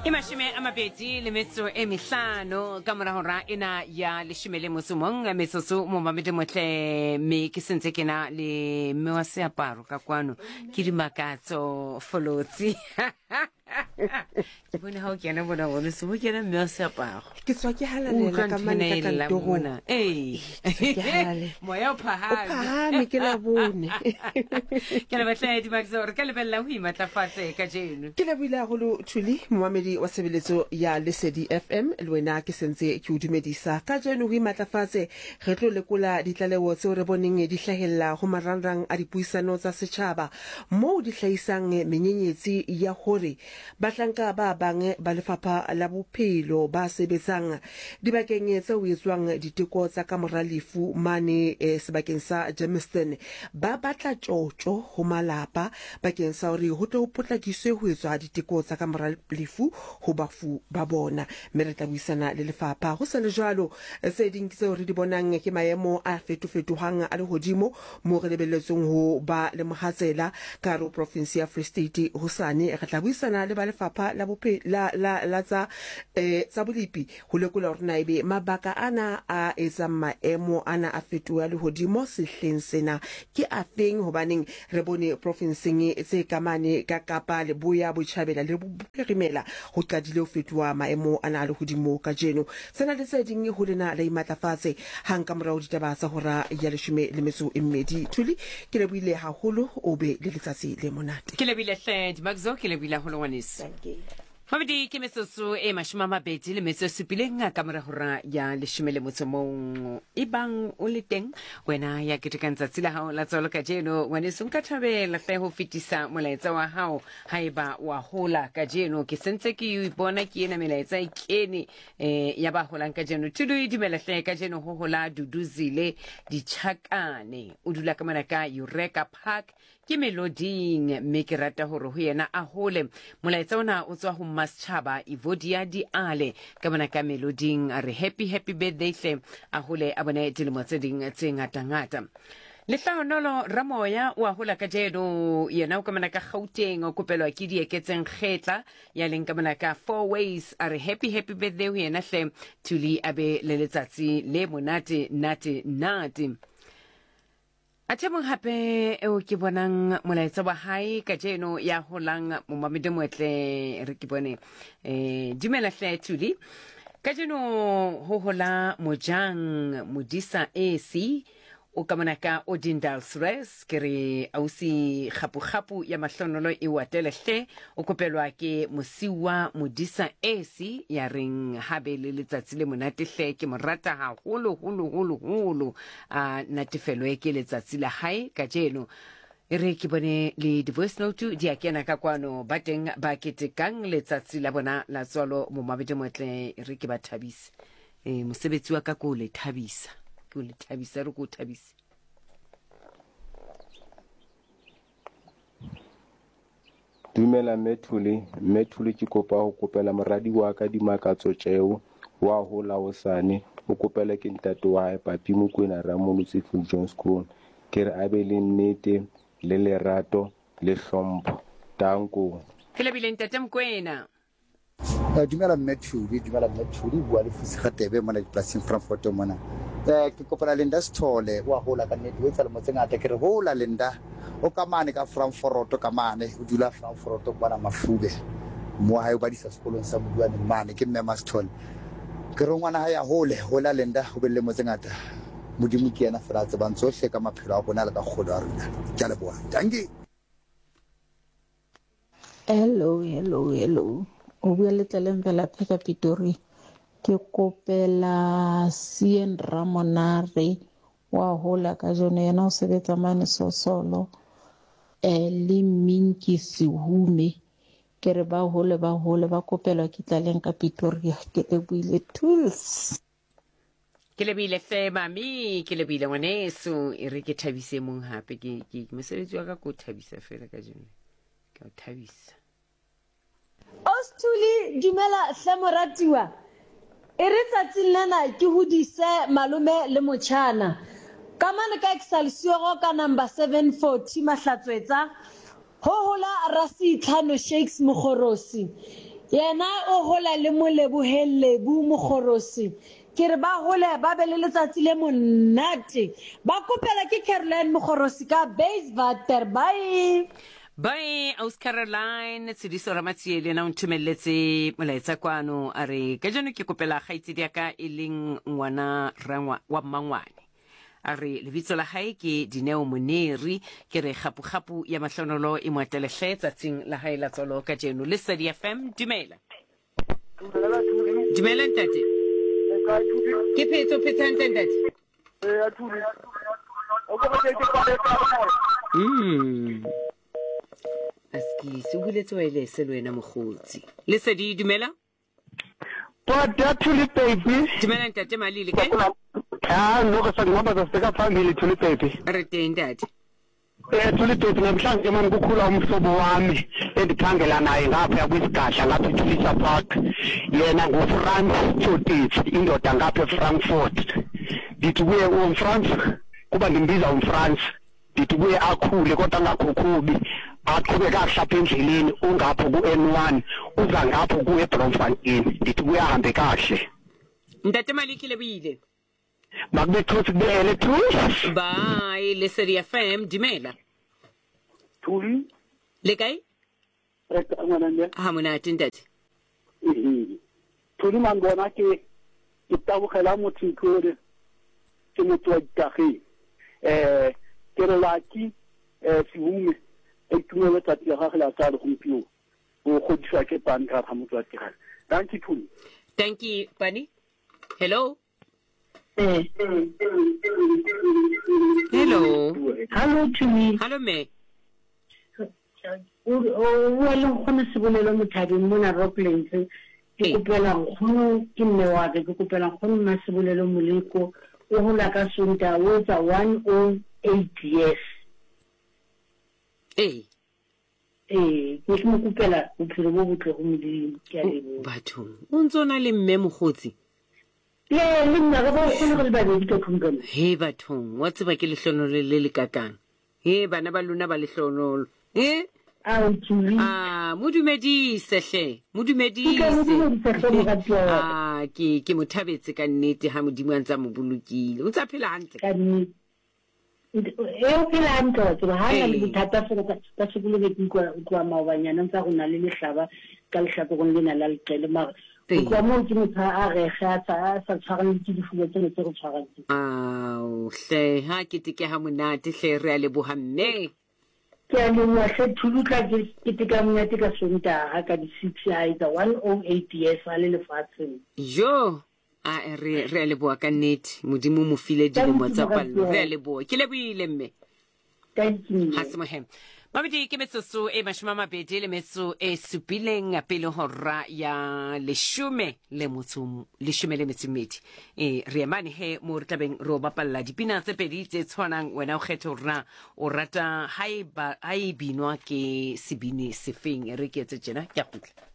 E mashome a mabedi le metso e mehlano ka mora hora ena ya leshome le motso mong metsotso momamedi motle mme ke sentse ke na le mme wa seaparo ka kwano ke dimakatso folotsi ke bone ga o kena bona bone se bo kena mme wa seaparo ke tswa ke halalela ka mane ka kantorong ee ke halalela. moya o o phahame phahame ke la bone ke lebatle dimakatso re ka lebelela go imatlafatse ka jeno ke lebohile haholo thuli momamedi wa tshebeletso ya lesedi fm le wena ke sentse ke o dumedisa ka jeno ho imatlafatse re tlo lekola ditlaleho tseo re boneng di hlahella ho marangrang a dipuisano tsa setjhaba moo di hlahisang menyenyetsi ya hore Bahlanka ba bang ba Lefapha la Bophelo ba sebetsang dibakeng tse ho etswang diteko tsa kamora lefu mane sebakeng sa Germiston ba batla tjotjo ho malapa bakeng sa hore ho tle ho potlakiswe ho etswa diteko tsa kamora lefu ho bafu ba bona. Mme re tla buisana le lefapha. Ho sa le jwalo, tse ding tseo re di bonang ke maemo a fetofetohang a lehodimo Mo re lebelletsweng ho ba le mohatsela ka hare ho profinse ya Free State hosane, re tla buisana le ba lefapha la bophe, la, la, la tsa, eh, tsa bolepi ho lekola hore na ebe mabaka ana a etsang maemo ana a fetohe a lehodimo sehleng sena ke afeng, hobaneng re bone profinseng tse ka mane ka Kapa Leboya, Botjhabela le Bophirimela ho qadile ho fetoha maemo ana a lehodimo kajeno. Tsena le tse ding ho lena la imatlafatse hang ka morao ditaba tsa hora ya leshome le metso e mmedi. Thuli, ke lebohile haholo, o be le letsatsi le monate. Ke lebohile hle Dimakzo, ke lebohile haholo ngwaneso. Mabedi ke metsotso e mashome a mabedi le metso e supileng ka mora hora ya leshome le motso mong. Ebang o le teng wena ya ketekang tsatsi la hao la tswalo kajeno, ngwaneso nka thabela hle ho fetisa molaetsa wa hao haeba wa hola kajeno. Ke sentse ke bona ke ena melaetsa e kene eh ya ba holang kajeno. Thudu e dumela hle kajeno ho hola Duduzile Ditšhakane, o dula ka mona ka Eureka Park ke Meloding, mme ke rata hore ho yena a hole. Molaetsa ona o tswa ho Mmasetjhaba Evodia Diale ka mona ka Meloding, a re happy happy birthday hle, a hole a bone dilemo tse ding tse ngata-ngata. Lehlahonolo Ramoya o a hola kajeno, yena o ka mona ka Gauteng, o kopelwa ke Dieketseng Kgetla ya leng ka mona ka Four Ways, a re happy happy birthday ho yena hle, Thuli a be le letsatsi le monate nate nate. Athe mong hape eo ke bonang molaetsa wa hae kajeno ya holang momamedi motle, re ke bone eh dumela hle Thuli, kajeno ho hola Mojang Modisa AC o ka mona ka Odendaalsrus, ke re ausi kgapu-kgapu ya mahlonolo e o atele hle, o kopelwa ke Mosiuwa Modisa AC ya reng ha be le letsatsi le monate hle, ke mo rata haholo holo holo holo, a natefelwe ke letsatsi la hae kajeno. E re ke bone le di-voice note di a kena ka kwano, ba teng ba ketekang letsatsi la bona la tswalo momabedi motle, e re ke ba thabise. E, mosebetsi wa ka ke o le thabisa, ke o le thabisa, re ke o thabise. Dumela Mme Thuli, Mme Thuli ke kopa ho kopela moradi wa ka Dimakatso Tjeo wa hola hosane, o kopela ke ntate wa hae Papi Mokwena Ramolotsi Viljoenskroon. Ke re a be le nnete le lerato le hlompho. Danko. Ke lebile ntate Mokwena. Eh, dumela mme Thuli, dumela mme Thuli, bua le Fusi Gatebe mona dipolasing Frankfurt mona. Eh, ke kopana Linda Sithole, wa hola ka nnete, o etsa lemo tse ngata. Ke re hola Linda, o ka mane ka Frankfurt ka mane, o dula Frankfurt kwana Mafube. Mo hae o badisa sekolong sa Moduane mane, ke mme Masithole. Ke re ngwana hae a hole, hola Linda, o be le lemo tse ngata. Modimo ke yena fela a tsebang tsohle ka maphelo a rona le ka kgolo ya rona. Ke a leboha. Dankie. Hello, hello, hello. O bua le Tlaleng Velaphe ka Pitori. Ke kopela Cien Ramonare wa hola ka jeno yena o sebetsa mane Sosolo eh le Minki Sehume. Ke re ba hole ba hole ba kopelwa ke Tlaleng ka Pretoria. Ke lebohile tools. Ke lebile hle mami, ke lebile ngwaneso, e re ke thabise mong hape, ke ke mosebetsi wa ka ko thabisa fela ka jeno, ke o thabisa. Osthuli, dumela hle moratiwa. E re tsatsing lena ke hodise malome le motjhana. Ka mane ka Excelsior ka number 740 Mahlatswetsa, Ho hola Rasitlhano Shakes Mogorosi. Yena o hola le Moleboheng Lebu Mokgorosi. Ke re ba hole ba be le letsatsi le monate. Ba kopela ke Caroline Mokgorosi ka Bayswater. Bye. Bye, Aus Caroline. Tshidiso Ramatsie le yena o nthomelletse molaetsa kwano a re kajeno ke kopela kgaitsedi ya ka e leng ngwana rangwa wa mmangwane. A re lebitso la hae ke Dineo Moneri. Ke re kgapu-kgapu ya mahlonolo e mo atele hle tsatsing la hae la tswalo kajeno. Lesedi FM, dumela. Dumela ntate. Ke phetse, o phetse hantle ntate? Mm. Askisi, o buletse waelese le wena mokgotsi. Lesedi, dumela. Tota Thuli Baby. Dumela ntate Malile kae? Ah, no re sa ngihamba sibheka phambili Thuli Baby. Re teng ntate. Eh Thuli Baby namhlanje mani kukhula umhlobo wami endiphangela naye ngapha kwisigadla ngapha eThulisa Park. Yena nguFrans Tsotitsi indoda ngapha eFrankfurt. Ndithi kuye uMfrans kuba ndimbiza uMfrans. Ndithi kuye akhule kodwa angakhukhubi, aqhube kakuhle apha endleleni, ungapho ku-N1, uza ngapho kuwe eBloemfontein. Ndithi kuye ahambe kakuhle. Ntate Maliki Lebohile. Makube thusi kubele thusi. Bye, Lesedi FM, dumela. Thuli. Le kae? Re kae ngwana mme? Ha monate ntate. Ehe. Thuli man bona ke ke tabogela motho ntlole ke motho wa ditageng. Eh ke re laki eh Sehume a itumele tsatsi la gagwe la tsalo gompieno. O godiswa ke Pani ka ga motho wa tirelo. Dankie Thuli. Dankie Pani. Hello. Eh. Hello. Hello Thuli. Hello me. O bua le nkgono Sebolelo Mothabeng mona Rocklands. Ke kopela nkgono ke mme wa ka, ke kopela nkgono mma Sebolelo Moleko o hola ka Sontaha o etsa 108 years. Ee. Ee, ke ke mo kopela bophelo bo botle go Modimo. Ke a leboha. Bathong, o ntse o na le mme mokgotsi? Ee, le nna re ba kgone go le babedi ka tlung ka mo. He bathong, wa tseba ke lehlonolo le le kakang. He bana ba lona ba lehlonolo. He? Ao, Julie. Ah, mo dumedise hle, mo dumedise. Ke tla mo dumedisa hle moratuwa wa ka. Ah, ke ke mo thabetse ka nnete ha Modimo a ntse a mo bolokile. O ntse a phela hantle? Ka nnete. E o phela hantle wa tseba, ha na le bothata fela ka ka sekolo be ke utlwa utlwa maobanyana ntsa go na le lehlaba ka lehlakoreng lena la leqele mara go tloha moo ke motho a rege a sa a sa tshwarang ke difuba tsena tse re tshwarang tse. Ao hle ha keteke ha monate hle re a leboha mme. Ke a leboha hle Thulu tla ke keteka monate ka Sontaha ka di 6 a etsa 108 years a le lefatsheng. Jo A re re a leboa ka nnete. Modimo o mo file dilemo tsa pallo. Re a leboa. Ke leboile mme. Thank you. Ha se mohe. Mabedi ke metsotso e mashome a mabedi le metso e supileng pele hora ya leshome le motso leshome le metso mmedi. E re emane he mo re tlabeng re o bapalla dipina tse pedi tse tshwanang wena o kgethe hore na o rata ha e ba ha e binwa ke sebini sefeng. E re ke etse tjena ke a kgutla.